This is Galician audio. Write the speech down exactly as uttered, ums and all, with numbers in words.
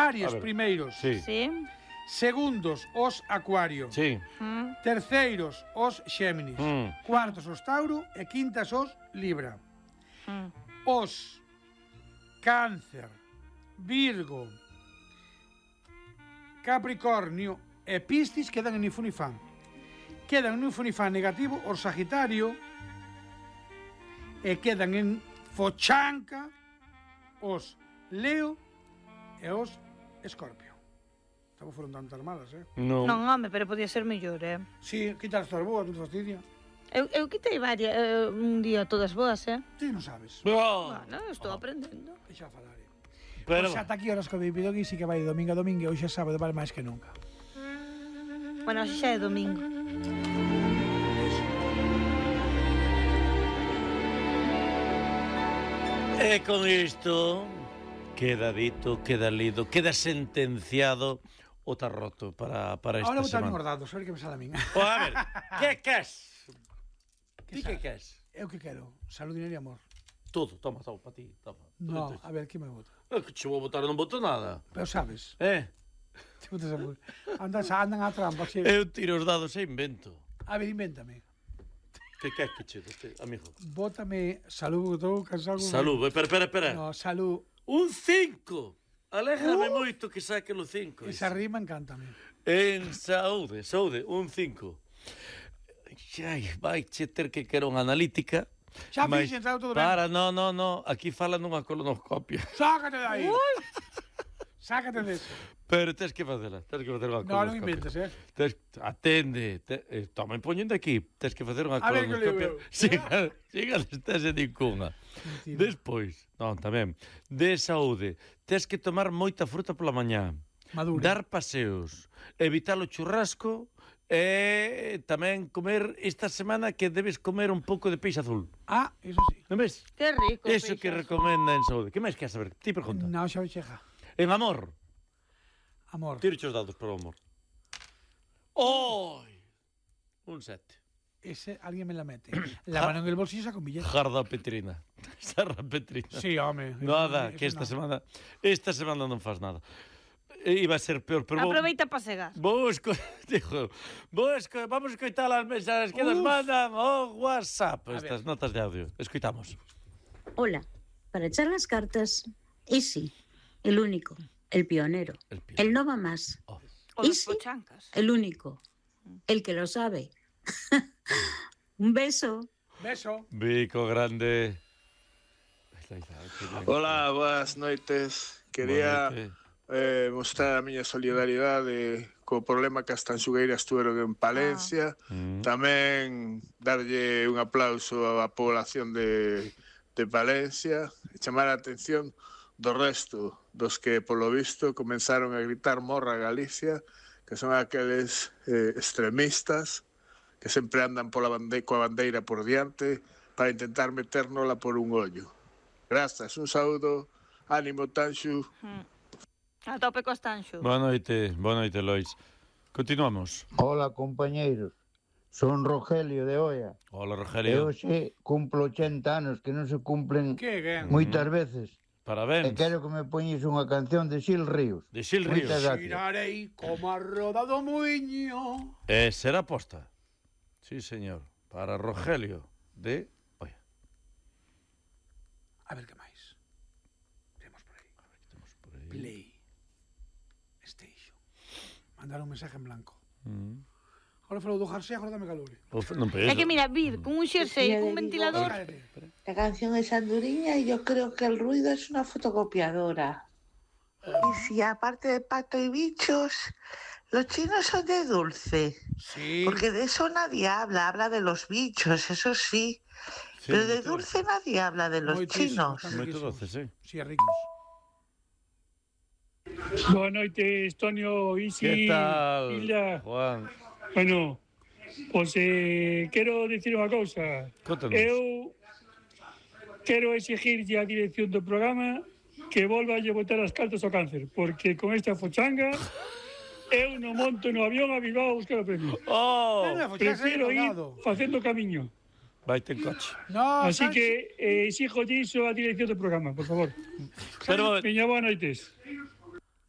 Aries primeiros. Sí. Sí. Segundos, os Acuario. Sí. Mm. Terceiros, os Xéminis. Mm. Cuartos, os Tauro. E quintas, os Libra. Mm. Os Cáncer, Virgo, Capricornio e Piscis quedan en Infunifán. Quedan en Infunifán negativo os Sagitario e quedan en Fochanca os Leo e os Escorpio. Estamos foron tantas malas, eh? Non. Non, home, pero podía ser mellor, eh? Sí, quitas todas boas, non te fastidia. Eu, eu quitei varias, eh, un día todas boas, eh? Ti non sabes. Oh. Bueno, eu estou aprendendo. Deixa falar, eh? Pero... Pois ata aquí horas que vivido aquí sí que vai de domingo a domingo e hoxe é sábado vale máis que nunca. Bueno, hoxe xa é domingo. E con isto queda dito, queda lido, queda sentenciado o tarroto para, para esta Ahora botar semana. os dados, a ver que me sale a min. O, a ver, que queres? Ti que queres? Eu que quero? Salud, dinero e amor. Todo, toma, toma, para ti, toma. No, a ver, que me vota? É que che vou botar, non boto nada. Pero sabes, Eh? te botas a amor. Andas, andan a trampa, sí. Eu tiro os dados e invento. A ver, invéntame. Que queres que che dote, amigo? Bótame salud, porque estou cansado. Salud, espera, espera, espera. No, salud. Un cinco. Alégrame moito que saque o cinco. Esa rima encántame. En saúde, saúde, un cinco. Ai, vai che ter que quero unha analítica. Xa Mais- fixen, está todo ben. Para, no, no, no, aquí falan dunha colonoscopia. Sácate de aí. Sácate de eso. Pero tens que facela, tens que facer unha No, non colonoscopia. inventes, eh. Tes, atende, te, eh, toma poñendo aquí, tens que facer unha A ver, que colonoscopia. leo eu. Siga, siga destese ninguna. Mentira. Despois, non, tamén, de saúde, tes que tomar moita fruta pola mañá. Madura. Dar paseos, evitar o churrasco e tamén comer esta semana que debes comer un pouco de peixe azul. Ah, eso sí. Non ves? Que rico. Eso que peixas. recomenda en saúde. Que máis queres saber? Ti pregunta. No, xa cheja. En amor. Amor. Tiro os dados para o amor. Oi! Un sete. Ese alguien me la mete. La mano en el bolsillo saca un billete. Jarda Petrina. Sarra Petrina. Sí, home. Nada, Eso que esta no. semana esta semana non faz nada. E iba a ser peor, pero vou, Aproveita para segar. vou esco, dijo, vou esco, vamos escoitar as mensaxes que nos Uf. mandan o WhatsApp, A estas ver. notas de audio. Escoitamos. Hola, para echar las cartas, Easy, el único, el pionero, El pionero. el no va más, Oh. O das Easy, pochancas. el único, el que lo sabe. Un beso. Beso. Bico grande. Ahí está, ahí está, que ben. Hola, boas noites. Quería Boa noite. eh, mostrar a miña solidaridade co problema que as tanxugueiras tuveron en Palencia. Mm. Tamén darlle un aplauso á población de, de Palencia e chamar a atención do resto dos que, polo visto, comenzaron a gritar morra Galicia, que son aqueles eh, extremistas que sempre andan pola bande coa bandeira por diante para intentar metérnola por un ollo. Grazas, un saúdo, ánimo Tanxu. A tope cos tanxos. Boa noite, boa noite, Lois. Continuamos. Hola, compañeiros. Son Rogelio de Oia. Hola, E Rogelio. hoxe cumplo ochenta anos que non se cumplen Que ben. moitas veces. E Parabéns. quero que me poñes unha canción de Xil Ríos. De Xil Ríos. Moitas gracias. Girarei como a roda do muiño. Eh, será posta. Sí, señor. Para Rogelio de... Oye, A ver que máis. Temos por aí. estamos por aí. Play. Station. Mandar un mensaje en blanco. Mm. Ahora falou do jersey, agora dame calor. O fe- non É penso. que mira, vir con un xersei e cun ventilador. Cállate. La canción es anduriña y yo creo que el ruido es una fotocopiadora. Y si aparte de pato y bichos, los chinos son de dulce. Sí. Porque de eso nadie habla, habla de los bichos, eso sí. Sí, Pero de moito- dulce nadie habla de los Moitísimo, chinos. están Moito riquísimos. doce, sí. Sí, ricos. Boa noite, Estonio, Isi, Que tal, Hilda. Juan? Bueno, pois eh, quero dicir unha cousa. Contanos. Eu quero exigirlle á dirección do programa que volva a lle botar as cartas ao cáncer, porque con esta fochanga eu non monto no avión a Bilbao a buscar o premio. Oh, Venga, pues ya se ha Prefiro ir colgado. facendo camiño. vaite en coche. No, Así Sánchez. que eh, exijo iso á dirección do programa, por favor. Pero, Veña, boas noites.